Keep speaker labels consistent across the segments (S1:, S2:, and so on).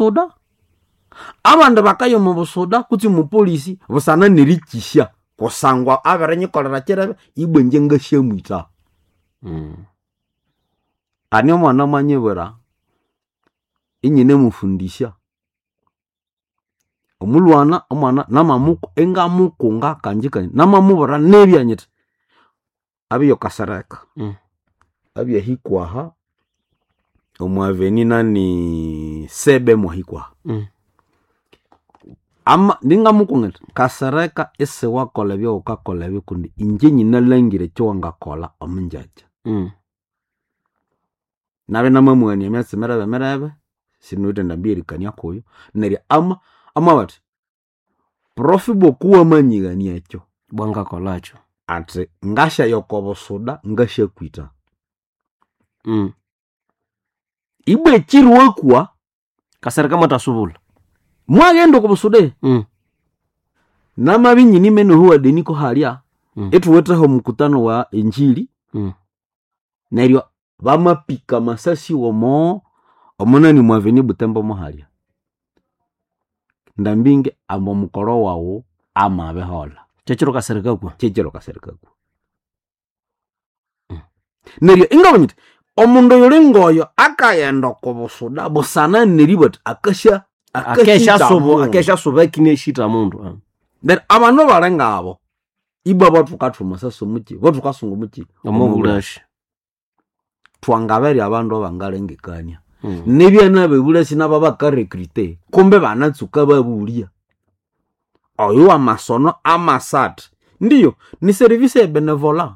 S1: busoda. Abandi bakaya omu busoda kutse omu polisi busana nerikisya kusangwa abirinyikolera kirebe, ibwa ingye ngasyamwitha. Hane omwana mwanyibwira inyinemufundisya, omulwana omwana ingamukunga kanji kanji, namamubwira nibya nyithi abye Kasereka, abye hikwaha omu avenue nani Sebe mwahikwaha. Ningamukunga nyithi Kasereka isiwakolha ebyawukakolha ebyo kundi ingye nyinalhangira ekyawangakolha omungyakya. Nabya inamamughania emyatsi mirebe mirebe, sinawithe endambi eyerikania kuyo, neryo amabugha athi prof ibwa kuwamanyighania ekyo,
S2: Bwangakolhakyo.
S1: Athi ngasyaya oko busuda ngasyakwitha. Ibwa ekiro wakwa
S2: Kasereka mwathasubulha.
S1: Mwaghenda oko busuda. Namabya inyinimene ohuwa Deniko halya, ithuwitheho omukutano wa injili, neryo bamapika amasasi omo omunani mwa avenue Butembo muhalya. Ndambingi ambu omukoro wawu amabiholha.
S2: Kyekiro Kasereka akwa.
S1: Kyekiro Kasereka akwa. Neryo ingabugha nyithi omundu oyuli ngoyo akaghenda oko busuda busana neribugha athi akasya akasya mundu.
S2: Akesha suba akine shita mundu.
S1: Neryo abandu bali ngabo ibwa bathukathwa amasasi omuki, bathukasunga omuki
S2: omobulashi.
S1: Thwangaberya abandu abangalengekania. Nibyana bebulasi nabo bakarecruite kumbe banatsuka babulya. Oyo wamasono amasatha. Ndiyo ni service ya benevola.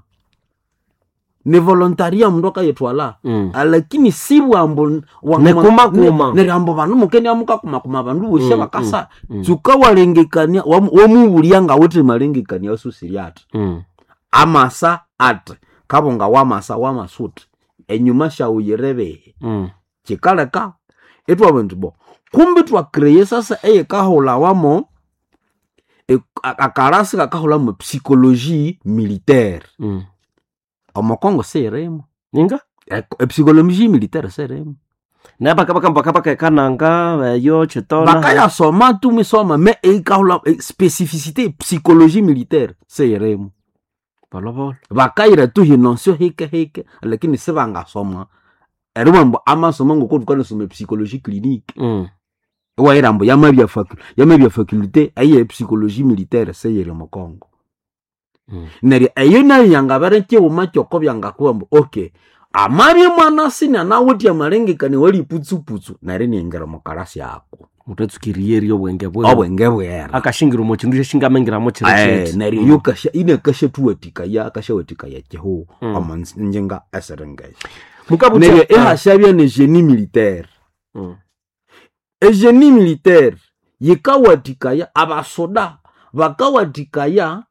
S1: Ni volontaria omundu akayithwala. Lakini sibwambu
S2: Nikumakuma.
S1: neryo ambu bandu mukenia mukakumakuma abandu bosi abakasa. Tsuka walengekania wamubulya ngawithe malengekania asusire athi. Amasa athi kabunga wamasa wamasuthi enyuma syawuyirebehe. Kyikaleka ithwabugha indi bo kumbi ithwacreate sasa eyikahulhawamo akalasi kakahulhamo psychologie militaire. Omo Congo siyirimu.
S2: Ninga?
S1: Epsychologie militaire siyirimu.
S2: Nayo bakabaka ekananga eyo Kitona.
S1: Bakayasoma tu mwisoma me eyikahulha spécificité psychologie militaire siyirimu.
S2: Bolobolo.
S1: Bakayira tu hinosyo hike hike lakini sibangasoma eribugha ambu amasomo ngoko thukanasoma psychologie clinique. Iwahira ambu yamabya yamabya faculté eye psychologie militaire siyiri omo Congo. Neryo eyo nayo yangabere kyighuma kyoko byangakuba ambu okay amabya mwanasi anawithe amalengekania awali putsuputsu neryo iniaghira omo kalasi ako.
S2: Muthatsuka eriyerya obwenge bwewe.
S1: Obwenge bwera.
S2: Akashingira omo kindu syashingamingira kiro kyeti.
S1: Neryo iyo kasya inakashathuwathikaya akashawathikaya kyihugho omo ngyinga esiringesyo.
S2: Mukabutha
S1: Neryo ihasyabya ne génie militaire. Egenie militaire yikawathikaya abasoda bakawathikaya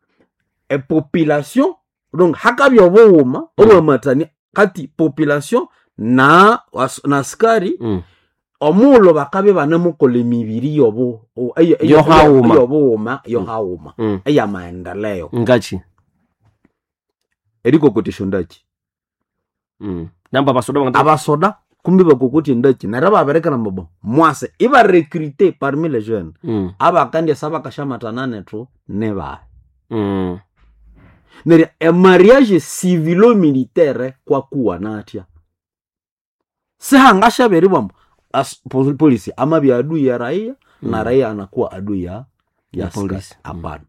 S1: epopulation, donc hakabya obughuma obwamathania kati population na na askari, omughulhu bakabya ibanimukolha emibiri
S2: Yohaghuma.
S1: Yobughuma yohaghuma eyamaendeleo.
S2: Ngakyi?
S1: Erikokotya esyondakyi.
S2: Namba abasoda bangata
S1: Abasoda kumbi bakokotya endakyi neryo ibabirikira ambu bo mwase ibarecrute parmi les jeunes. Abakandyasa bakasyamatana nethu nibahi. Neryo emariage civilo militaire kwakuwana athya? Sihangasyabya eribugha ambu polisi amabya adui ya raia na raia anakuwa adui ya
S2: Ya
S1: askari.
S2: polisi.
S1: Hapana.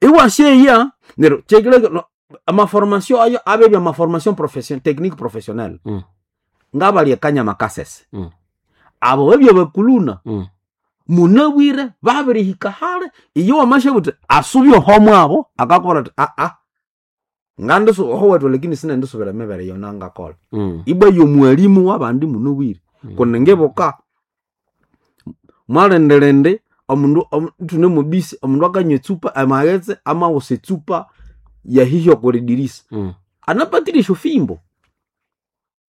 S1: Iwasyeya neryo kyekileka amaformation ayo abebya amaformation profession technique professionnelle. Ngabalya ekanyama kasese. Abo babya bakuluna. Munabwire babirihika hali iyo wamasya buthi asubye oho mwabo akakubwira athi aa ngandisu oho wethu lakini sinendisubira emibere eyo nangakolha. Ibwa yomuwalimu wabandi munabwire. Kundi ngibuka mwalindirindi omundu ithune mubisi omundu akanywa etsupa amaghetse amawusa etsupa yahihya okuridirisa. Anapatire esyofimbo.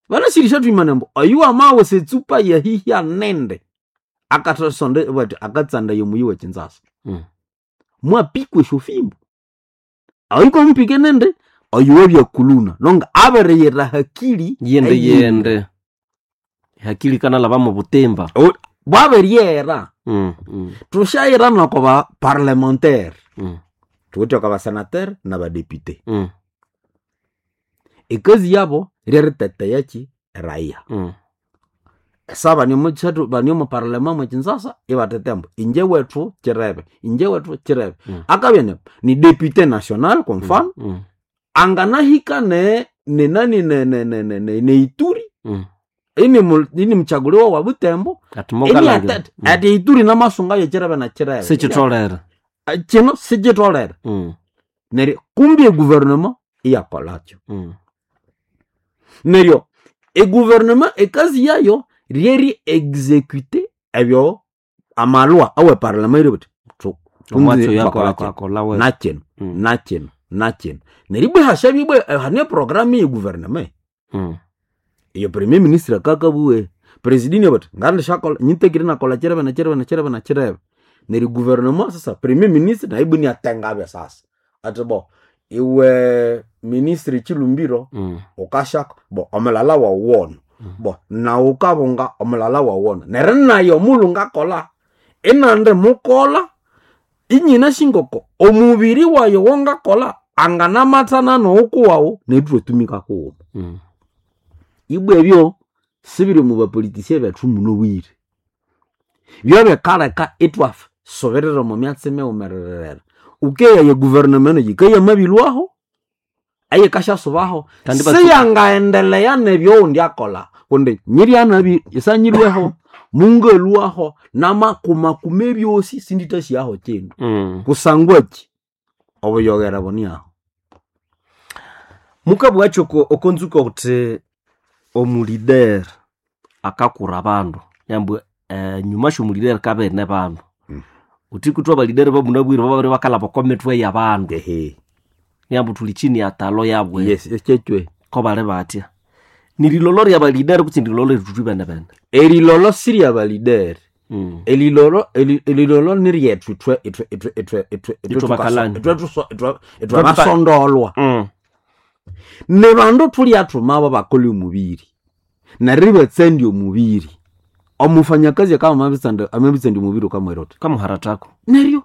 S1: Banasirisya thwimana ambu oyu amawusa etsupa yahihya nindi akathasonda bathi akatsandaya omuyi wekyinzasa. Mwapikwa esyofimbo. Oyu kwamupike nindi oyu wabya kuluna nonga abiriyira hakili
S2: Yende
S1: eyindi.
S2: yende. Hakili kanalhaba mu butimba.
S1: Bwabiryera. Tushayira noko ba parlementaire. Tuwithe oko basenateur n'abadepute. Ekazi yabo ryeriteteya ki? Eraia. Esa bane omu parlema mwe Kinshasa ibateteya ambu inje wethu kirebe, inje wethu kirebe. Akabya ni député national kwa mfano, anganahika ne nenani ne ne Ituri. Ini mchaguliwa wa Butembo.
S2: Ati mokalangira.
S1: Ini ati Ituri n'amasunga yekirebe na kirebe.
S2: Sikitolere.
S1: Kino sikitolere. Neryo kumbi eguvernema iyakolakyo. Neryo eguvernema ekazi yayo ryeri execute ebyo amalwa awe parlema iri buti
S2: Omwatsi oyo akola we.
S1: nakino nakino nakino. Neryo ibwa hashabya ibwa hane programu ye guvernema. Iyo premier ministre akakabuwe president bati ngandishakola nyitekire nakola kirebe na kirebe na kirebe na kirebe. Neryo guvernema sasa premier ministre naye ibwa niatengabya sasa. Ati bo iwe ministre Chilumbiro ukashaka bo omulala wawuwona. Bo nawe ukabunga omulala wawuwona. Neryo naye omulhu ngakola inandi mukola inyina shingoko omubiri wayo wongakola anganamathana nowukuwawu neryo ithwatumika kughuma. Ibwa ebyo sibiri omu bapolitician bethu munobwire. Byobikaleka ithwasubirira omu myatsi mighumerere. Ukeya eguvernema yikayamabilwaho eyikashasubaho
S2: Kandi
S1: siyangaendelea nebyowundi akola kundi nyiryanabi isanyilweho mungalwaho namakumakuma ebyosi sindithasyaho kindu. Kusangwa ki? Obuyogera buniaho.
S2: Mukabwakyo okonzuka uthi omulider akakura abandu yambu nyuma syomulideri kabene bandu. Uthi kuthu abalideri bamunabwire bababiri bakalhaba oko mithwe y'abandu.
S1: Ehe.
S2: Yambu thuli chini ya talo yabwe.
S1: Yes, ekyekyo.
S2: Ko bali batya. Nirilolo rya balideri kutse nirilolo erithuthwi bene bene.
S1: Erilolo sirya balideri. Elilolo elilolo niryethu ithwe ithwe ithwe ithwe ithwe
S2: Ithwe bakalani.
S1: ithwe ithwe ithwe basondolwa. Ni bandu thulyathuma abo bakolha omubiri. Neryo ibatsandya omubiri. Omufanyakazi akaba amabitsandya omubiri ukamwira uthi
S2: Kamuharathako.
S1: Neryo.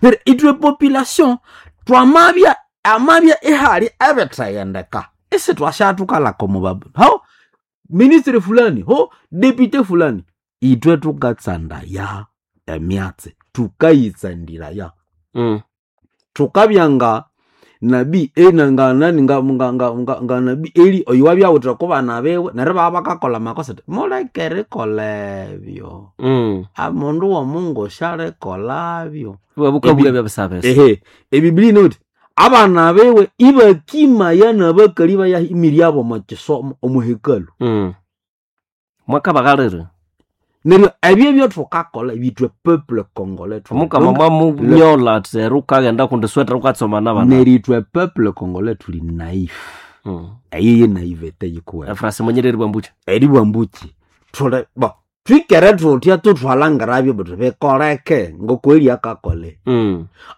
S1: Neryo ithwe population twamabya amabya ihali ebithayendeka. Isithwashathukalaka omu babu. Ho ministry fulani, ho deputy fulani. Ithwe thukatsandaya emyatsi, thukayitsandira. Thukabya nga nabii ena nga nani nga nga nga nga, nga nabii Eli oyo wabyawuthira oko bana biwe neryo ibabya bakakolha amakosa athi muleke erikolha ebyo. Omundu w'omungu syalikolhabyo.
S2: Ibabukabulya ebyabisabisa.
S1: Ehe, ebiblia inawuthi abana biwe ibakimaya n'abakali bayaha emiri yabo omo kisomo omu hekalu.
S2: Mwakabaghalira.
S1: Neryo ebyo ebyothukakolha ithwe peuple congolais
S2: Omukama mwamunyola athi eri wukaghenda kundi sweta wukatsoma n'abana.
S1: Neryo ithwe peuple congolais thuli naif. Eyo ye naivete yikuwene.
S2: Efrasi mwenyere eribwa mbuki.
S1: Eribwa mbuki. Thuli bo twikere thuthya thuthwalhangirabyo buthi bikoleke ngoko Eli akakole.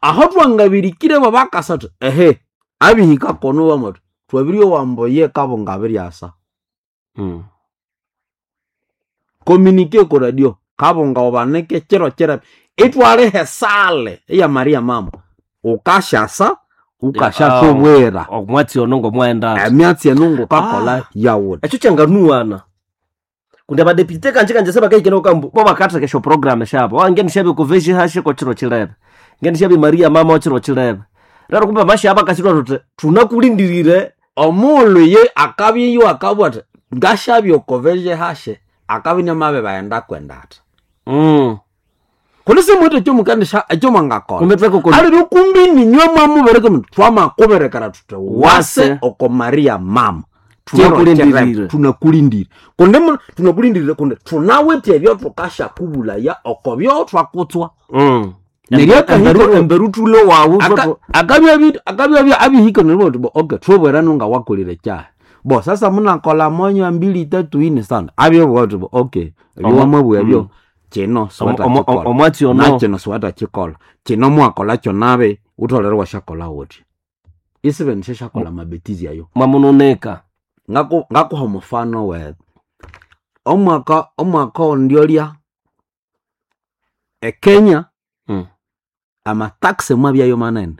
S1: Aho twangabirikire babakasa thuthi ehe abihika kono bamuthi twabiryowa ambu ye kabunga abiryasa. Communique ko radio kabunga ubanike kiro kirebe ithwaliha esale eya Maria mama ukashasa ukashathubwira.
S2: Omwatsi ono ngomwaghenda.
S1: Emyatsi eno ngukakolha yawuthi.
S2: Ekyo kyanganuwana. Kundi abadepute kanje kanje sebakahikene kambu bo bakatheka esyo program syabo. Wange nishabye ku veji hashe ko kiro kirebe. Nge nishabye Maria mama okiro kirebe. Rero kumbe amashaba akasirwa thuthi thunakulindirire.
S1: Omulhu ye akabya iyo akabugha athi ngashabye oko veji hashe akabya inamabibaghenda kwenda athi. Kundi simuwithe ekyomukendisha ekyomwangakolha.
S2: Kumbe twekoko
S1: Aliro kumbi ninywe mwamubereka mundu twamakuberekera thuthi wase
S2: Wase.
S1: oko Maria mama.
S2: Tunakulindirire.
S1: Tunakulindire. Kundi tunakulindirire kundi thunawithe ebyo thukashakubulaya oko byo thwakutswa. Neryo akahika
S2: Emberu thulo wawu
S1: akabya abihika neryo bo okay thubwera nunga wakolire kyaha. Bo sasa munakola monya mbili tatu ine sana. Abyo bo okay ebyo wamabugha ebyo kino siwatha kikola.
S2: Omwatsi ono
S1: Na kino siwatha kikola. Kino mwakola kyo nabi utholere washakola wuthi. Isibe nishashakola mabetizi ayo.
S2: Mwamunoneka.
S1: Ngakuha omufano we Omwaka ondyolya ekenya amataxe mwabyayo manene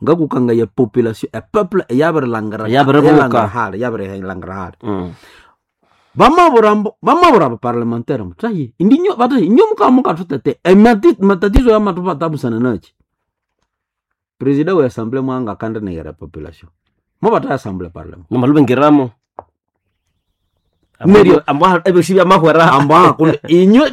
S1: ngakukangaya population epeuple eyabirilangira
S2: Eyabiribuka.
S1: eyalangira yabirilangira hali bamabura bamabura abaparlementaire mutaye indinyo bataye inyo mukaba mukatutete matatizo yamatupata nachi president we assemblée mwanga kandi negera population mubata assemblée parlement
S2: nomalubengiramo
S1: Neryo-
S2: ebyosi byamahwera
S1: amba kundi inyo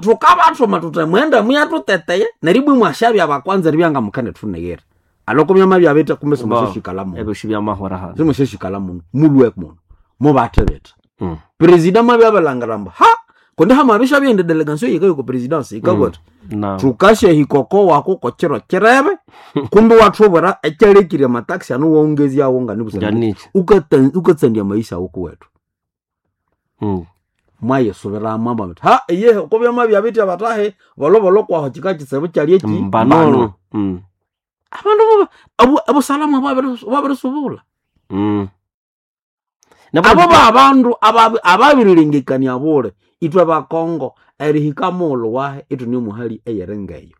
S1: tukabathuma tuti mwenda muyatuteteye neribwe mwashabya abakwanza ribyanga mukende thunegere aloko myama byabita kumbe simushishikala muno
S2: ebyosi byamahwera hano
S1: simushishikala muno mulwe muno mubathebetha president mwabyabalhangira mbu ha kundi hamabisha byende delegation yikayo ku presidency ikabwata
S2: na
S1: tukashe hikoko wako kochiro chirebe kumbe wathubura ekyalekire amataxi ano wongezyawo ngani
S2: nganichi
S1: ukatsandia maisha awoko wetu mwayesubiramo amba muti ha iye kubyama byabitya batahe bolobolo kwaho chika chisebu kyali eki
S2: mbanono
S1: abandu abusalamu bwabirisubula abo babandu ababirilengekania bule itwe bakongo erihika muulu wahe itune muhali eyerengeyo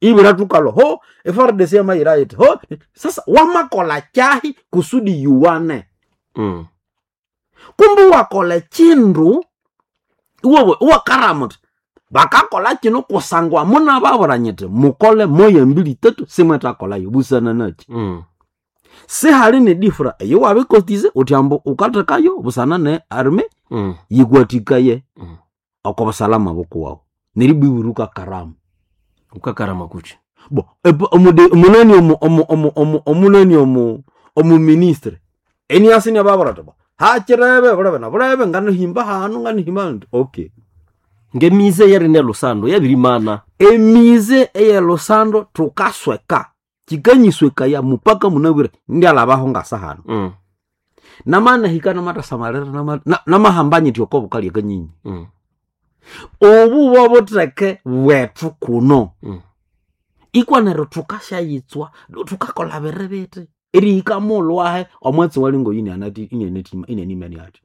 S1: ibira tukalo ho FARDC yamayira iti ho sasa wamakola kyahi kusudi yuwane kumbe wakola chindu iwewe iwakaramuti bakakola kino kusangwa muna baburanyiti mukole moya mbili tatu simwetakolayo busana nachi sihali ne difra eyo wabikotize utyambo ukathekayo busana ne arme yikwatikaye oko busalama bukuwawu neribwiburuka karamu
S2: ukakarama kuchi
S1: bo omunani omunani omuministre eniasini ababurati bo hakirebe bulebe na bulebe nganihimba hanu nganihimba hanu okay
S2: ngemize yeri lusando yabirimana
S1: emize eyelusando tukasweka kikanyiswekaya mupaka munabwire ndialabaho ngasa hanu namanahika namatasamalira namahambanyiti oko bukalya kanyinyi obu bobutheke bwethu kuno ikwa neryo thukashayitswa thukakola biribiti erihika muulu wahe omwatsi walingo inenimani ati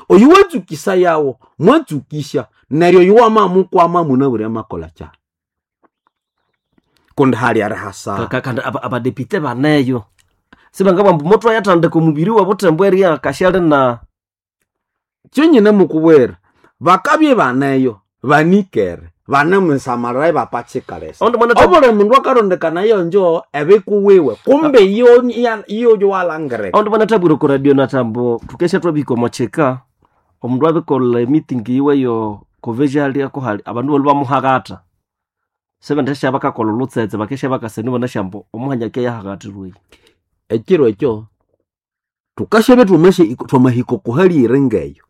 S1: oyu watsukisa yawo mwatsukisha neryo oyu wamamukwama munabwire amakola kya kundi hali arihasa
S2: kandi abadepite baneyo sibangabamba motho ayathandika omubiri wabuthembo eria kashali na
S1: kyonyine mukubwera bakabye baneyo banikere banemusamalira bapachikalesa
S2: Ondi mwana
S1: obuli mundu akarondekana yonjo ebikuwiwe kumbe iyo iyo walangireka
S2: ondi mwana tabwire ku radio natambo thukesha twabika omochika omundu abikola emiting yiwe yo koveja ko hali abandu bali bamuhakata sebendesha bakakola olutsetse bakesha bakaseni bona shambo omuhanyake yahakatirwe
S1: ekiro ekyo tukashabe twamahika twamahiko kuhali ngeyo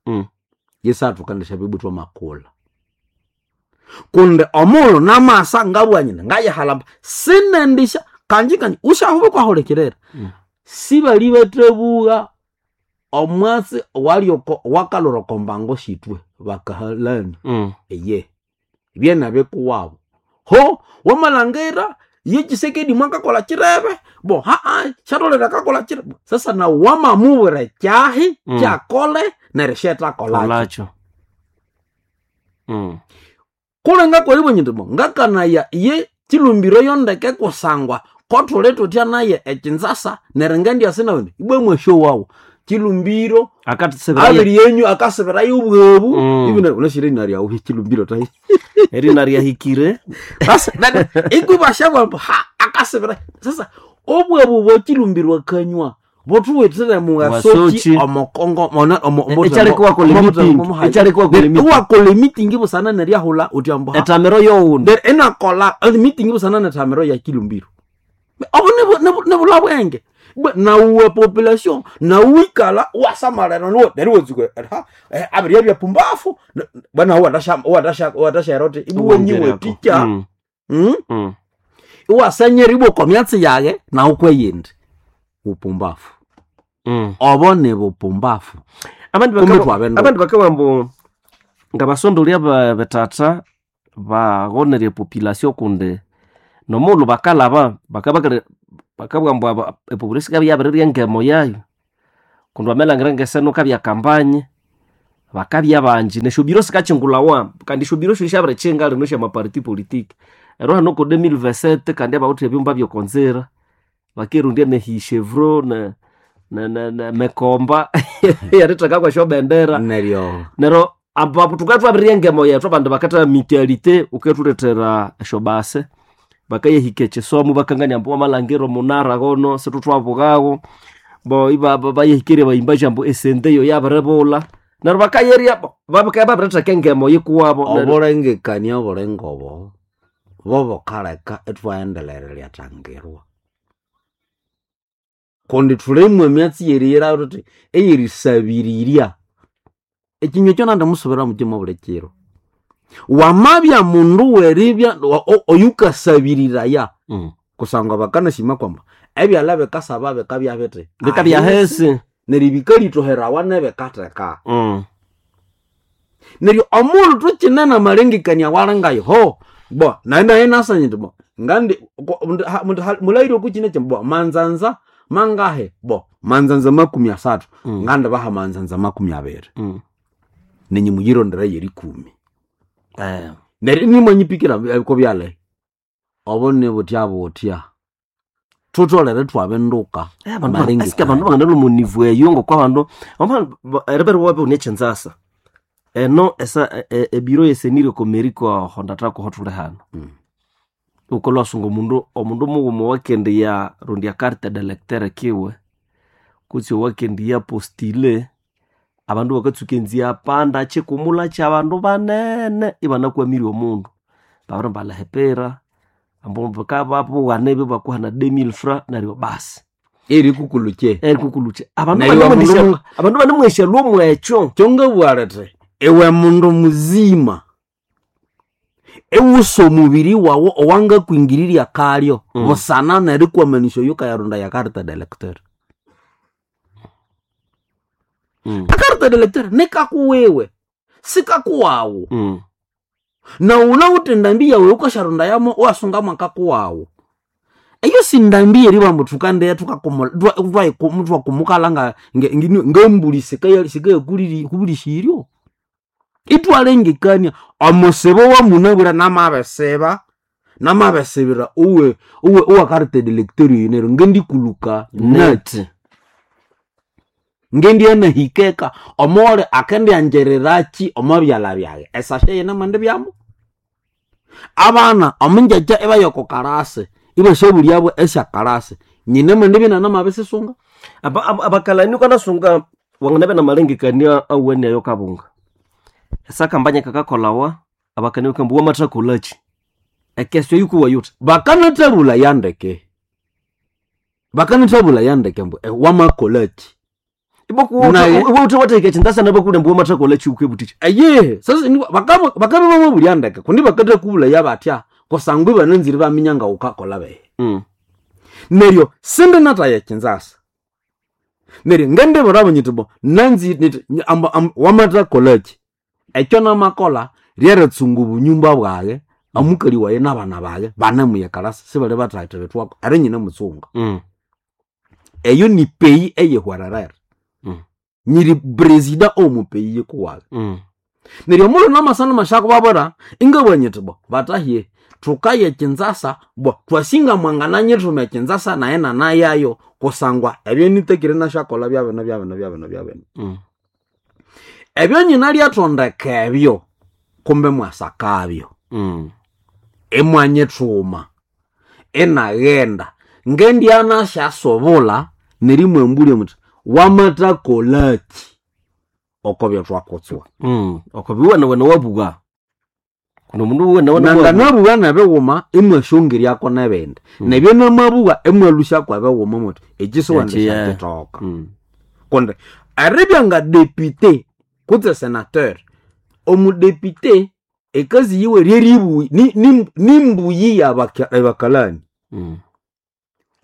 S1: yesa tukandisha bibu twamakula kundi omulhu namasa ngabwanyina ngayihalamba sinendisha kanji kanji ushahuba kwahulikirira sibali bathebuwa omwatsi walioko wakalura okombango shitwe bakahalani eye byena bikuwabo ho wamalhangira yechisekedi mwakakola chirebe bo haa shatolera kakola chirebe sasa na wamamubwira kyahi kyakole neryo shethakolakyo
S2: olacho
S1: kulenga kwalibwe bo ngakanaya ye chilumbiro yondeke kusangwa kothuli thutya naye ekinzasa neryo ngendyasi nawe ibwe mwasho wawu chilumbiro
S2: akatisebera
S1: abiri yenyu akasibirayo obwebu ibina unashire inaryawu chilumbiro tayi
S2: erina ryahikire
S1: sasa ikubashabwa ha akasibira sasa obwebu bwochilumbirwa kanywa bothuwithire
S2: Wasoki.
S1: mugasoki omukongo mona omo
S2: Ekyaleka wakola meeting. Ekyaleka wakola meeting.
S1: wakola meeting busana neryahula uti ambu ha
S2: etamero yowundi
S1: There enakola meeting busana nethamiro ya kilumbiro obo nebula bwenge nauwe population nauwikala wasamalana nuwe neryo wetsuka ha abirya bya pumbafu bwana watasha roti ibuwe nyiwe ticha iwasanyera ibwe myatsi yage nawe kweyindi bupumbafu obo ni bupumbafu
S2: abandi
S1: Kumbe twabenda.
S2: abandi bakabambu nga basondolya betata bagonerya population kundi nomulhu bakalaba bakabugha mbu epopulation ikabya yabirirya engemo yayo kundi wamalhangira ngeseno kabya kampanye Bakabya banji nesyo biro sikachingulawa kandi esyo biro syabirichinga lino sya maparti politique. Ero hano ko 2027 kandi abawithe ebyumba byokonzira bakirundya ne hichevro ne ne ne, ne mekomba yaritheka kwesyo bendera
S1: neryo
S2: nero abapo tukatwabirya engemo yethu abandu bakatha mutualité ukethulethera esyo base bakayahika ekisomo bakangania ambu wamalhangira omunara gono situthwabughawo bo bayahikirye bayimbaji ambu esente eyo yabiribulha neryo bakayerya bakabya babiritheka engemo yikuwabo neryo
S1: obulengekania obulengobo bobukaleka ithwaghendelera eryatangirwa kundi thulimu emyatsi yeriyira thuthi eyerisabirirya ekinywa ekyo nandimusubira mutima buli kiro wamabya mundu weribya oyukasabiriraya kusangwa bakanasima kwamba ebyalha bikasaba bikabya bithi
S2: bikabya hesi
S1: neryo bikalitoherawa nebikatheka neryo omundu thukinene amalengekania walingayo ho bo naye naye nasanye nti bo ngandi mulaire okukine kyi bo manzanza mangahe bo manzanza 30 ngandi baha manzanza 20 nenyi muyirondera yerikumi neryo nimwanyipikira kobyale obo nibutya butya thutholere thwabinduka
S2: asike abandu banganalwa omunivu eyo ngokwa abandu eribere wabe une ekyinzasa eno esa ebiro yesenire komeriko hondathako hothuli hano wukalwasunga omundu omundu mughuma owakendiya rondya carte d'electeur kiwe kutse owakendiya postile abandu bakatsuka enzia panda kyikumulha kyabandu banene ibanakwamire omundu babiri balihipira ambu bakababughana ebyo bakuhana 2000 francs neryo basi
S1: erikukulukye
S2: erikukulukye abandu
S1: Neryo omundu
S2: abandu banemwesya lwomwekyo
S1: kyongabugha lithi iwe mundu muzima iwusa omubiri wawu owangakwingirirya kalyo busana nerikwamanisya oyo ukayarunda ya carte d'electeur a carte d'electeur nikakuwiwe sikakuwawu na wunawuthe endambi yawu eyukasyarunda yamo iwasungamu akakuwawu eyo sindambi yeribamba thukandiya thwakumukala ngembuli sikayakubulisiryo ithwalengekania omusibo wamunabwire namabisiba namabisibira uwe uwe uwa carte d'electeur oyu neryo ngendikuluka nati ngendiyanahikeka omole akendyanjererakyi omo byalha byaghe esashe yinamwendibyamu abana omungyakya ibaya oko karasi ibasyabulyabo esyakarasi nyine mwendibya inanamabisisunga
S2: abakalani ukanasunga wanganabya namalengekania awene ayo kabunga esakambanya kakakolawa abakani bakambu wamathakolaki ekesyo yikuwa yuthi
S1: bakanathabulha yandeke bakanathabulha yandeke mbu wamakolaki Naye-
S2: iwuthe watheka ekyinzasa nabakule mbu wamathakolaki ukebutiki
S1: aye sasa bakabya bamabulya ndeke kundi bakathakuwulaya batya kusangwa ibananzire baminya ngawukakola behe neryo sindinathaya ekyinzasa neryo ngendibwirabo nyiti bo nanzi niti wamathakolaki ekyo namakolha ryeritsunga obunyumba bwaghe omukali wayi nabana baghe banemuyekalasa sibali bathathibithwako eri nyine mutsunga eyo ni peyi eyihwererere nyiri presida omu peyi yikuwaghe neryo omulhu namasana mashakubabwira ingabugha nyiti bo batahye thukaya ekyinzasa bo twasinga mwangananyithuma ekyinzasa naye nanayayo kusangwa ebyo nitekire nasyakolha byabino byabino byabino byabino ebyo nyina lyathondeka ebyo kumbe mwasakabyo imwanyithuma inaghenda ngendyanasyasobulha nerimwambulya muthi wamathakolaki oko byethwakutswa
S2: okobiwene wene wabugha kuno mundu wene wene wabugha
S1: nanganabugha nebighuma imwasyongeryako nebindi nebyo namabugha imwalusyako ebighuma muthi
S2: Eki, eh.
S1: ekisiwendisyakyithoka kundi eribya nga depute kutse senateur omudepute ekazi yiwe ryeribuyi nimbuyi yabakalani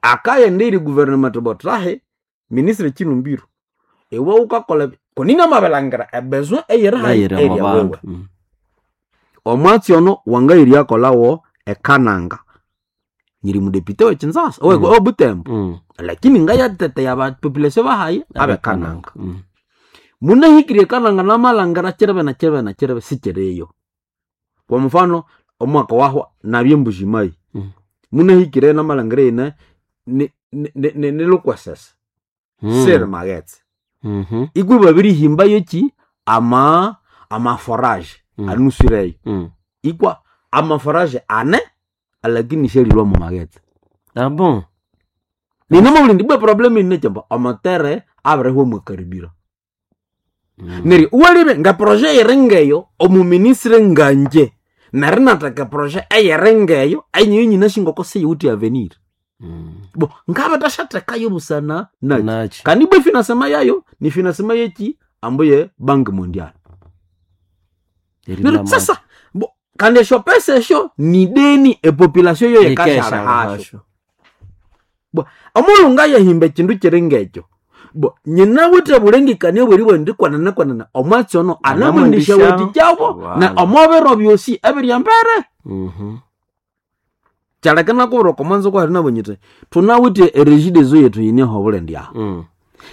S1: akaghenda eri guvernment botrahe ministre Chilumbiro iwe wukakolha kunina mabilangira ebesoin eyiri hayi
S2: nayiri
S1: area wewe
S2: omu bandu
S1: omwatsi ono wangayiryakolhawo ekananga nyiri mudepute wekinzasa obutembo lakini ngayateteya bapopulation bahayi abekananga Munahikirye kananga namalangira kirebe na kirebe na kirebe sikiriyo. Kwa mfano omwaka wahwa nabye Mbujimayi. Munahikire namalangira ine ni Lukwesese. Siri maghetse. Ikwi babirihimba yoki ama amaforage anusireyo. Ikwa amaforage ane lakini shelilwa mu maghetse.
S2: Ah bon.
S1: Ninamabulindi bwe problem ine kyamba amatere abirihwa mwakaribira. Neryo walibe nga projet eyiringeyo omuministre nganje neryo natheka projet eyiringeyo enyiyo nyinasingoko siyiwithe avenir. Bo ngabathasyathekayo busana naki.
S2: Nachi.
S1: Kandi ibwa efinasema yayo ni finasema yeki ambu ye Banque Mondiale. Neryo sasa bo kandi esyo pesa esyo ni deni epopulation yo yikashalihasyo. Bo omulhu ngayahimba ekindu kiri ngekyo bo nyinawithe bulengekania obweribugha indi kwenene kwenene omwatsi ono anamwendisyawathikyabo na omo biro byosi ebiri embere. Kyaleka inakubwira oko mwanzo kwahali nabonye nyithi thunawithe eregideso yethu yineho obulendi ahu.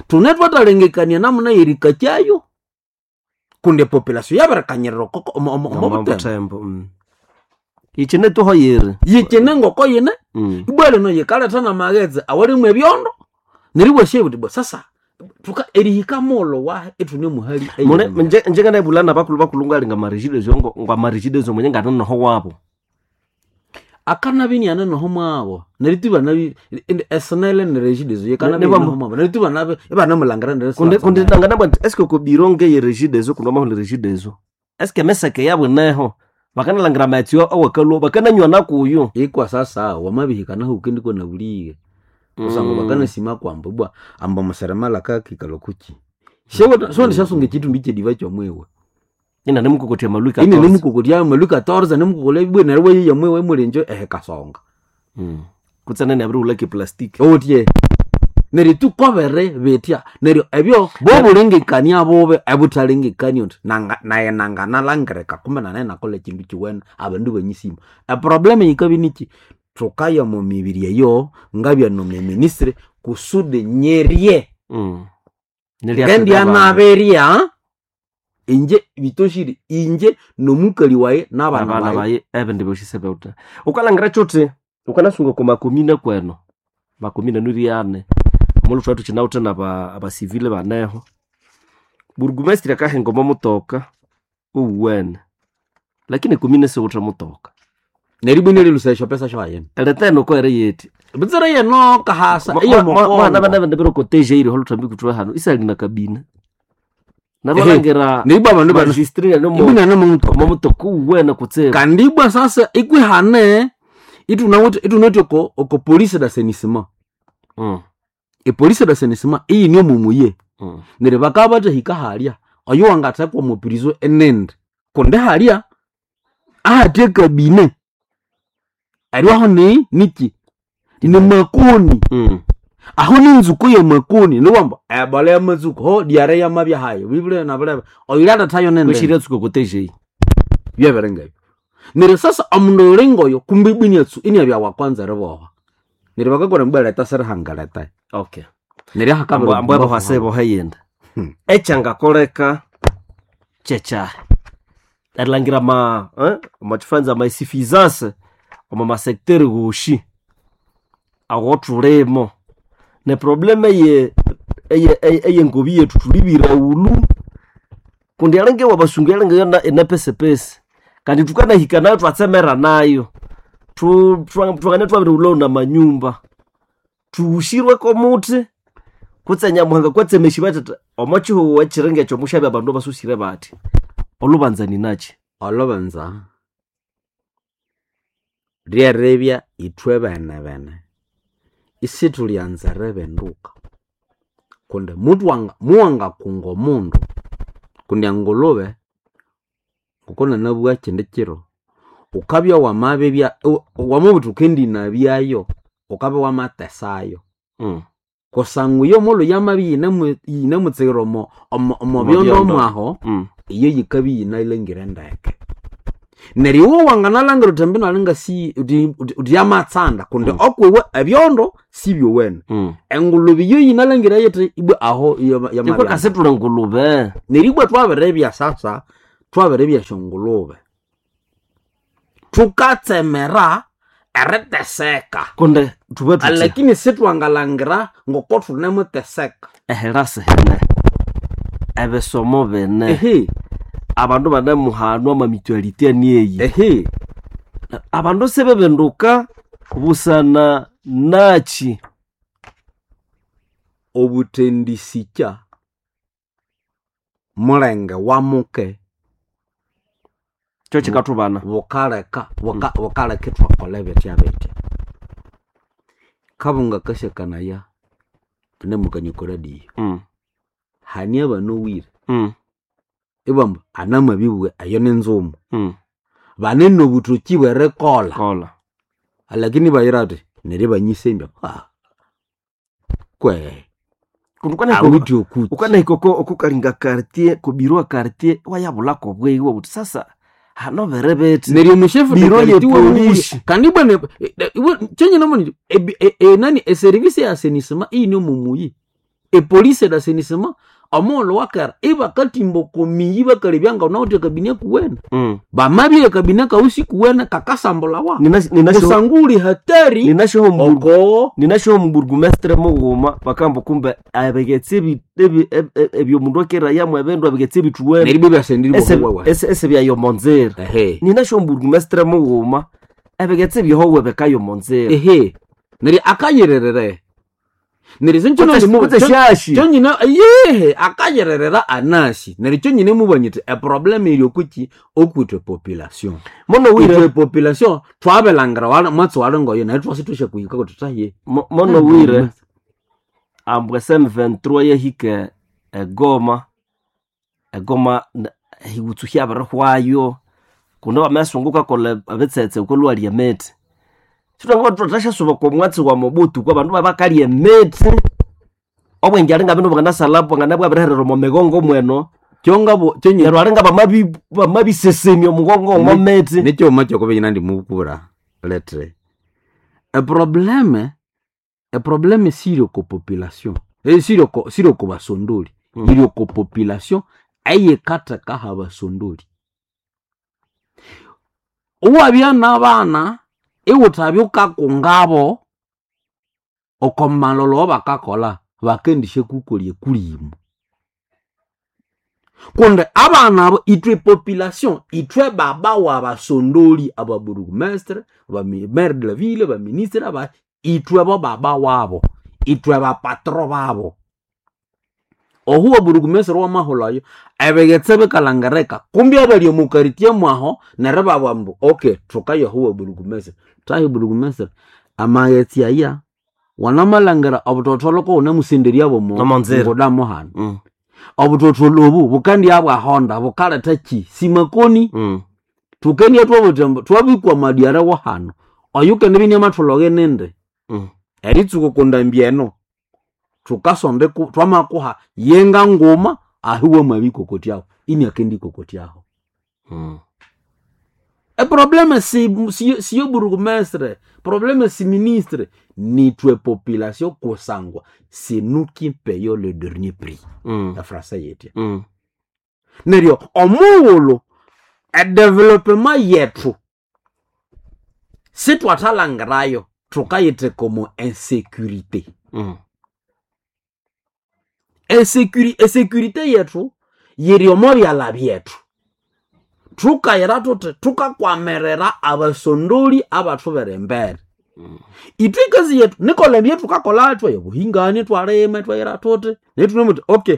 S1: Thune thwathalengekania namuna yerikakyayo kundi epopulation yabirikanyirira omo butembo.
S2: Yikyine tuhoyere.
S1: Yikyine ngoko yine ibwa lino yikaletha namaghetse awalimu ebyondo neryo ibwasya buthi bwa sasa thuka erihika mughulhu wahi ithune muhali
S2: Mune nje njenganabulana nabakulhu bakulhu ngalinga marigideso ngo ngwamarigideso mwenye nganenoho wabo.
S1: Akanabya inianenoho mwabo neryo tu ibanabi esinele neregideso yikanabya inianoho mwabo neryo tu ibanabi ibanamulangira neryo
S2: Kundi kundi nanganabwa nti eske okobiro ngeye regideso kundi wamahulha regideso. Eske emeseke yabo ineho bakanalangira amaghetse awakalhwa bakananywa nakuyo.
S1: Ikwa sasa wamabihika nahu ukendikwa nabulighe kusangwa bakanasima kwambu ibwa ambu omuseremala akakikalha okuki. Siwendisyasunga ekyithumbi kyediva kyomwiwe.
S2: Inanemukokotya amalwi 14.
S1: Inanemukokotya amalwi 14 nemukokolya ibwa neryo iwayoya omwiwe mulenje ehikasonga.
S2: Kutse nene abirighulha keplastic.
S1: Owuthye neryo thukobere bithya neryo ebyo bobulengekania bubi ebuthalengekania uthi nayi nanganalangirika kumbe nanayi nakolha ekindu kiwene abandu ibanyisima. Eproblem yikabya niki thukaya omo mibiri eyo ngabya nomuministry kusudi nyirye. Ngendya nabirya inje bitoshire inje nomukali wayi nabana
S2: Nabana
S1: bayi.
S2: bayi ebindi byosi sibewuthe. Wukalhangira kyuthi wukanasunga oko makomine kweno makomine niriane omulhu thwabya thukyinawithe naba abasivile baneho. Burugumesitiri akahinga omo mutoka owuwene lakini ekomine siwuthe mutoka.
S1: Neryo ibwa inalilhusa esyopesa syahayina.
S2: Eriteno oko eriyithe.
S1: Butsira yeno kahasa
S2: Mwana
S1: eyomukongo.
S2: bana biro koteje iri holuthambi kuthwe hano isali na kabina. Nabalangira
S1: Neryo ibwa abandu bana
S2: magistri
S1: ibwa inane
S2: omo mutoka owuwene kutsibu.
S1: Kandi ibwa sasa ikwihane ithunawithe ithunawithe oko oko police d'assainissement. Epolice d'assainissement iyine omumuye. Neryo bakabya bathahika halya oyo wangathekwa omo prison enindi kundi halya ahathe ekabine eryo ni niki ni makoni. Aho ninzuku yemakoni niwamba ebola yamatsuku ho diare yamabya hayi bibule nabulebe oyulyalethayo nindi
S2: Kweshirya tsuka koteje.
S1: byebiringebyo. Neryo sasa omundu oyulingoyo kumbe ibwa iniatsu iniabya wakwanza eriboha. Neryo bakakolha mbwa leta sirihangaleta.
S2: Okay.
S1: Neryo hakabiri
S2: Ambu abo hase boheyenda. Ekyangakoleka kyekyahi erilhangira ama omwakifanza amaisuffisance omo masecteur woshi awothulimo neproblem eye eyengobi yethu thulibire ghulhu kundi alinga ewabasungu alinga yona inapesipesi kandi thukanahika nayo thwatsemera nayo thwangane thwabirighulhawo namanyumba thuhushirweko omuthi kutse nyamuhanga kwatsemesya bathatha omo kihugho ekiringa ekyo mushabe abandu abasusire bathi olhubanza ninaki.
S1: Olhubanza lyeribya ithwe bene bene isithulyanza eribenduka kundi muwangakunga omundu kundi engulube ngokunanabugha kindi kiro wukabya wamabibya wamabugha wuthi wukendinabyayo wukabya wamatesayo. Kusangwa iyo omughulhu yamabya iyinemutsighira omo byondo mwaho iyo yikabya iyinalhangire ndeke. Neryo iwe wanganalangira uthi mbino alinga si uthi yamatsanda kundi okwiwe ebyondo sibyowene. Engulube iyo yinalangira yithi ibwe aho
S2: Ikwe
S1: yamabya.
S2: kasitula ngulube.
S1: Neryo ibwe twabiribya sasa twabiribya syongulube. Tukatsemera eriteseka.
S2: Kundi thube thuthi
S1: Lakini sitwangalangira ngoko thunemuteseka.
S2: ehirasi hene ebisomo bine
S1: Ehe,
S2: abandu banemuhanwa amamitualite anieyi
S1: ehe.
S2: Abandu sibebinduka busana nachi.
S1: Obuthendisikya mulenge wamuke
S2: Kyo kikathubana.
S1: Bukaleka bukaleka ithwakolha bitya bitya. Kabunga kasyakanaya thunemukania oko radio. Hani abanowire ibamba anamabibugha eyo ninzumu. Bane nobuthoki bwerikolha.
S2: Kola.
S1: Lakini bayira athi neryo ibanyisembya kwe
S2: Kundi ukanahika
S1: awithe okuki.
S2: ukanahika oko okukalinga quartier kubirwa quartier wayabulako obweyi wabuthi sasa hano biri bithi.
S1: Neryo omushefu
S2: Biro ye
S1: dekariti wewe
S2: polisi.
S1: kandi bwana chenye namoni nani eservice ya assainissement iyine omumuyi epolice d'assainissement omughulhu wakera ibakatimba okomiyi bakalebya nga wunawithe akabini akuwene. Bamabya akabini kawu sikuwene kakasambulawa kusangwa wuli hatari oko
S2: Ninashoho omuburugumestre mughuma bakamba kumbe abigetsi ebyomundu akerayamu ebindu abigetsi ebithuwene
S1: neryo ibyo byasendire bohuwewe.
S2: ese byayomonzera.
S1: Ehe.
S2: Ninashoho omuburugumestre mughuma ebigetsi byohowe bikayomonzera.
S1: Ehe, neryo akayirerere neryo
S2: Kutse shashi.
S1: kyonyine yehe akayirerera anasi neryo kyonyine mubanyite eproblem eri okuki okwitwe population.
S2: Mono
S1: Itwe
S2: wire
S1: population twabilangira mwatsi walingoyo naye twasi thwasyakuhika kuti thaye.
S2: Mono wire ambwa SM23 yahika egoma egoma hiwutsuhya abirihwayo kundi bamasungu kakolha ebitsetse okolwalya emithi sithwangaba thwathashasuba okomwatsi wa Mobutu kwa bandu babakalya emithi obwenge alinga bino bwanganasalha bwanganabwabiriherera omo migongo mweno.
S1: Kyongabo kyonyine
S2: Neryo alinga bamabisesemya omugongo omo mithi.
S1: Nekyoma kyokubinyina ndimubukura letre eprobleme eprobleme siri oko population siri oko siri oko basondoli. Iri oko population eyikathekaho abasondoli. Iwabya nabana iwuthabya wukakungabo oko malholho awabakakolha bakendisyakukolya ekulimu. Kundi abana abo ithwe population ithwe baba wabasondoli ababurugumestre, maire de la ville, baministre aba ithwe bo baba wabo ithwe bapatro babo. Ohu oburugumestre wamahulhayo ebighetse bikalhangirika kumbi abali omu quartier mwaho neryo ibabugha ambu okay thukaya ohu waburugumestre thahi burugumestre amaghetse aya wanamalhangira obuthotholo kowunemusenderya bomo
S2: Omo nzira.
S1: nguda muhano. Obuthotholo obu bukandya bwahonda bukaletha ki simakoni. Thukendya thwabuthi ambu thwabikwa amadyara wahano oyukendibya iniamathulhoke nindi. Eritsuka okondambi eno thukasonda thwamakuha yenga nguma ahu wamabikokotyaho iniakendikokotyaho. Eprobleme siyo burugumestre probleme si ministre nithwe population kusangwa c'est nous qui payons le dernier prix. Efrasa yetya. Neryo omughulhu edevelopema yethu sithwathalhangirayo thukayitheka omo insecurité. Esecurité yethu yiri omo byalha byethu. Thukayira thuthi thukakwamirira abasondoli abathubera embere. Ithwe ekazi yethu nikolha ebyathukakolha thwaya obuhingani thwalima ithwayira thuthi neryo thunamuthi okay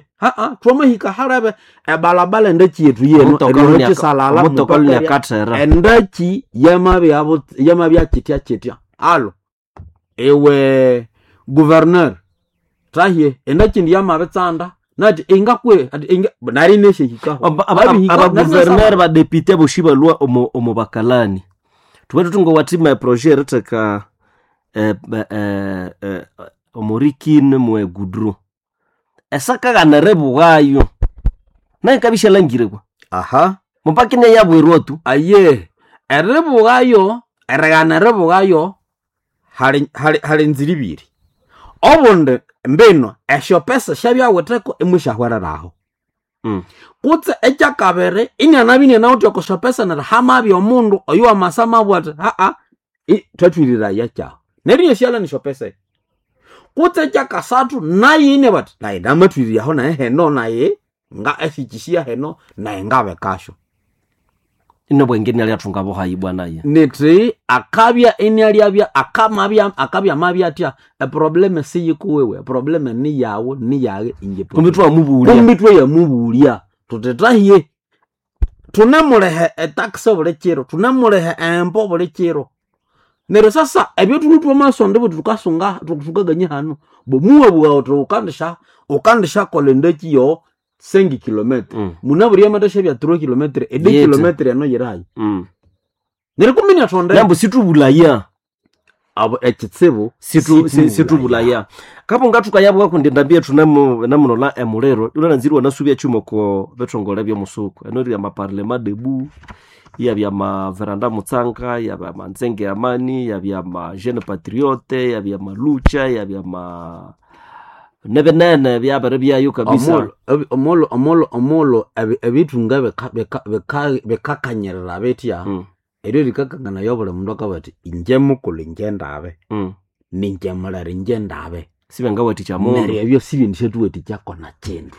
S1: thwamahika halebe ebalabala endaki yethu yeno erihika ekisalala
S2: Omutoka
S1: mupaka
S2: luniakathera.
S1: Endaki yamabya kyitya kyitya alo iwe gouverneur thahye endaki indi yamabitsanda nathi ingakwe ati inga nari ineshihikaho.
S2: Abaguverner badepite boshi balwa omu bakalani thube thuthi ngowathima eprojet eritheka omurikine mwe gudru esakaghanere bughayo naye kabishalangire kwa
S1: Aha.
S2: Mupakine yabwirwa tu.
S1: Aye eribugayo erighana eribugayo hali nzira ibiri. Obundi mbino esyo pesa syabyawitheko imusyahwereraho. Kutse ekyakabiri inianabya inianawithe oko syopesa neryo hamabya omundu oyo wamasa amabugha athi haa thwathwiriraya kyahu. Neryo inyasyalha nesyopesa esyo. Kutse ekyakasathu nayo inabugha athi nayi namathwiriryaho nayi heno nayi nga esyikisya heno nayi ngabikasyo.
S2: Inobwenge inalyathunga buhayi bwanaye.
S1: Nithi akabya inialyabya akamabya akabya amabya athya eprobleme siyikuwiwe eprobleme niyawu niyaghe inje.
S2: Kumbi twamubulya.
S1: Kumbi tweyamubulya thuthi thahiye thunemuliha etax buli kiro, thunemuliha empo buli kiro. Neryo sasa ebyo thulwe thwamasonda buthi thukasunga thukakania hano bo muwabugha wuthi wukandishakolha endaki yo 5 km. Munabwire yamathashabya 3 km, edi kilometre eno yirayi. Neryo kumbi inyathonde
S2: Nambu situbulaya.
S1: Abo ekitsibu
S2: Situbulaya. Kabunga thukayabugha kundi endambi yethu namunola emuliro ilananzirwe nasubya kyuma oko bithongole byomusuku. Eno eri amaparlema debu, iyabya amaveranda mutsanga, iyabya amanzenge amani, iyabya ama jeune patriote, iyabya amalucha, iyabya ama nebinene byabere byayo kabisa.
S1: Omulhu ebithunga bikakanyirira bitya, eryo rikakanganayo obuli mundu akabugha athi inje mukulhu inje ndabe, ninje mulere inje ndabe.
S2: Sibangawathikya mundu.
S1: Neryo ebyo sibyendi syathuwathikyako nakindu.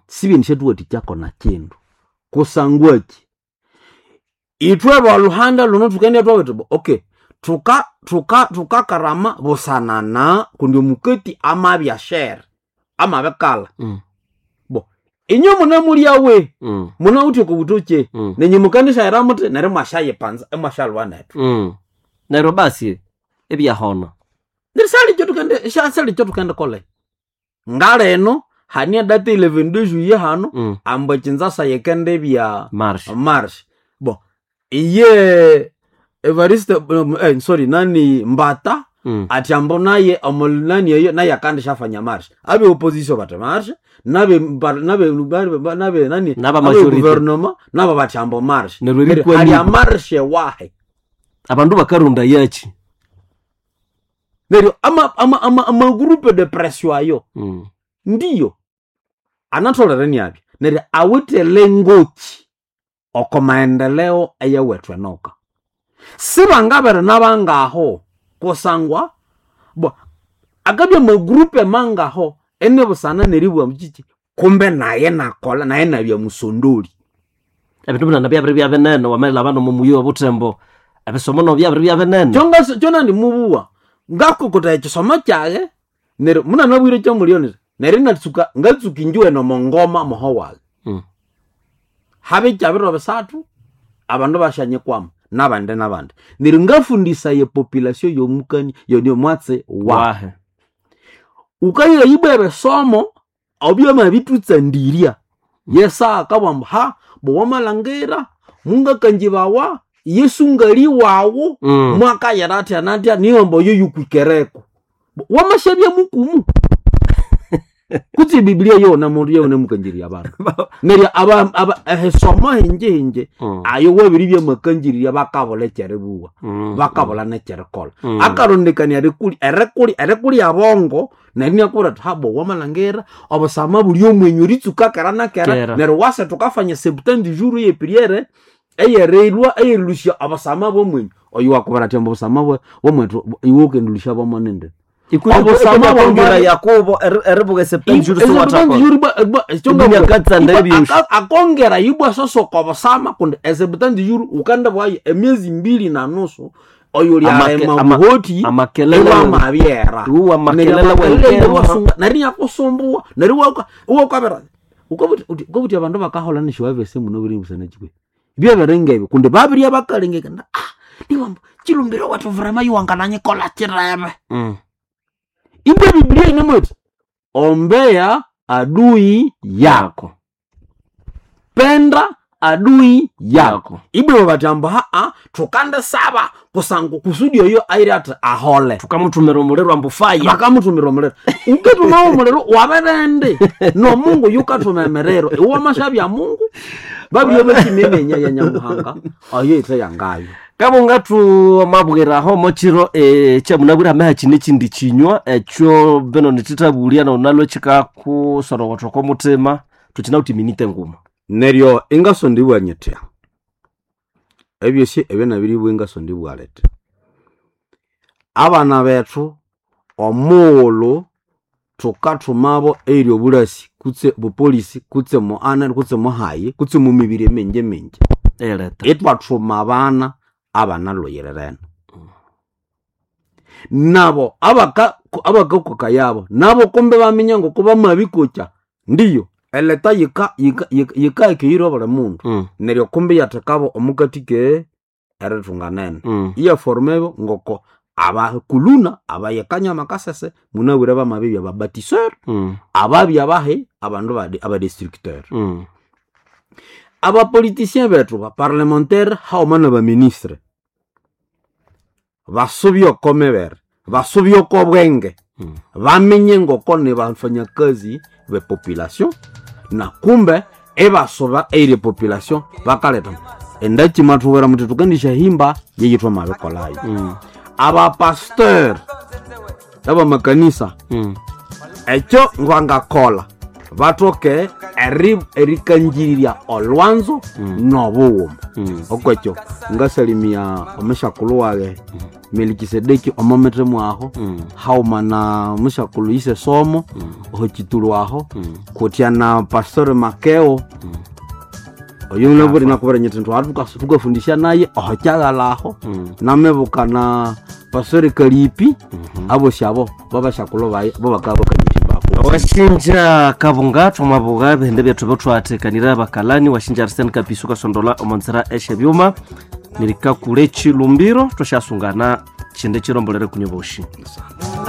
S1: Sibyendi syathuwathikyako nakindu. Kusangwa ki? Ithwe bolhuhanda lhuno thukendibya thwabugha thuthi okay, thukakarama busanana kundi omukati amabya shere, amabikalha. Bo inywe munamulyawe, munawithe oko buthokye, nenyu mukandisyaghira muthi neryo imwasyayipanza imwasyalhwa nethu.
S2: Neryo basi ibyahona.
S1: Neryo syali ekyathukendikola. Ngalino hane edate 11 de juillet hano, ambu ekinzasa yikendibya
S2: March.
S1: March. Bo iye Evariste sorry nani Mbata athi ambu naye nani eyo naye akandisyafanya march. Abe opposition bathi march, nabe nabe nani
S2: Naba
S1: abe
S2: majority.
S1: gouvernement nabo bathi ambu march.
S2: Neryo erikwa
S1: Hali
S2: ni-
S1: amarche wahe.
S2: Abandu bakarunda yachi.
S1: Neryo ama groupe de pression ayo. Ndiyo anatholere niabya neryo awithe lengoki oko maendeleo eyawethu enoka. Sibangabere nabangaho kusangwa bo akabya amagrupe mangaho enebusana neribugha mukyikyi kumbe naye nakolha naye nabya musondoli.
S2: Ebindu binene byabiri bya binene wamelha nomo muyi obuthembo. Ebisomo nabyo byabiri bya binene.
S1: Kyonandimubuwa ngakokotha ekisomo kyaghe neryo munanabwire ekyamulio neryo neryo inatsuka ngatsuka injuwene omo ngoma moho waghe. Habe kyabiro bisathu abandu basyanyikwama nabandi nabandi. Neryo ngafundisaya epopulation yomukani yomwatsi wahe.
S2: Wahe.
S1: Wukayira ibwa ebisomo obyamabithutsandirya. Yesu akabugha ambu ha bo wamalhangira mungakangibawa Yesu ngali wawu mwakayira athya nathya niyo ambu oyo yukwikereko. Wamasyabya mukumu. Kutse ebibilia yawunemukangirirya abandu. Neryo ehisomo hingi hingi ayo wabiribya makangirirya bakabulha ekyeribuwa, bakabulha nekyerikolha. Akarondekania erikulya bongo neryo inakubwira athi habo wamalhangira obusama buli omwenyu eritsuka kera na kera
S2: Kera.
S1: neryo wasa thukafanya septante jours eyepriere eyerilwa eyerilhusya obusama bwomwenyu. Oyo wakubwira athi ambu obusama bwomwethu iwe wukendilusya bwamonende. Obusama
S2: Obusama
S1: bwamani-
S2: Yakobo eribuga septante jours siwathakolha.
S1: Akongera ibwa sosoka obusama kundi eseptante jours wukandibwayo emyezi mbili na nusu oyo lyarema buhoti
S2: Amakelele
S1: iwamabyera.
S2: Iwa makelele
S1: Neryo amakelele
S2: wenkera.
S1: iwasunga, neryo inyakusumbuwa neryo iwakabira ukabuthi abandu bakaholha nesyiwabese muno biri busana kikwe. Byabiringebyo kundi babirya bakalengekana niwamba chilumbiro wethu vrema iwangananyikolha kirebe. Ibwa Biblia inemwethi ombea adui yako, penda adui yako. Ibwa bathi ambu haa thukandisaba kusangu kusudi oyo ayiri athi ahole.
S2: Thukamuthumira omuliro ambu fire.
S1: Bakamuthumira omuliro. Ukathumawo omuliro wabirindi nomungu yukathuma emiriro. Iwe wamashabya Mungu. Babirye bakimemenya ya Nyamuhanga oyo ithe yangayo.
S2: Kabunga tumabwiraho mochiro kyamunabwira hameha kine kindi kinywa ekyo bino nithithabulia nonalwe kikakusorowotha oko mutima tukinawuthi minite nguma.
S1: Neryo ingaso ndibwa nyithya ebyosi ebyo nabiribwa ingaso ndibwa liti abana bethu omughulhu thukathumabo eyiri obulasi kutse bupolisi kutse muana kutse muhayi kutse mumibiri emingi mingi
S2: Eleta.
S1: itwathuma abana abanalhuyirirene nabo abakakoka yabo nabo kumbe baminya ngoko bamabikokya ndiyo eleta yika yika yika buli mundu neryo kumbe yathekabo omukati ke erithunganene iyaformebo ngoko abakuluna abayekanya amakasese munabwire bamabibya babatiseur ababya bahi abandu abadestructeur abapoliticien bethu baparlementaire hauma na baministre basubye oko mibere basubye oko bwenge bamenye ngoko ni bafanyakazi be population na kumbe ebasuba eyiri population bakaleta endaki mathubwera muthi tukandisha himba yeyithwa mabikolayo abapasteur abamakanisa ekyo ngwangakola bathoke erikangirirya olwanzo nobughuma okwekyo ngasalimia omushakulhu wage Melikisedeki omomete mwaho hauma na mushakulhu ise somo oho kitulu aho kutya na pastor Makeo oyo naburi nakubira nyiti ntwara tukafundisha naye oho kyaghala aho namebuka na pastor Kalipi abosi abo babashakulhu baye bo bakaba bakanyitimbako
S2: Washinja kabunga thwamabuga ebihindi byethu byotwathekanira abakalani washinja Arsene Kapisu kasondola omonzera eshe byuma nirikakule chilumbiro twashasungana chinde chirombolere kunyoboshi.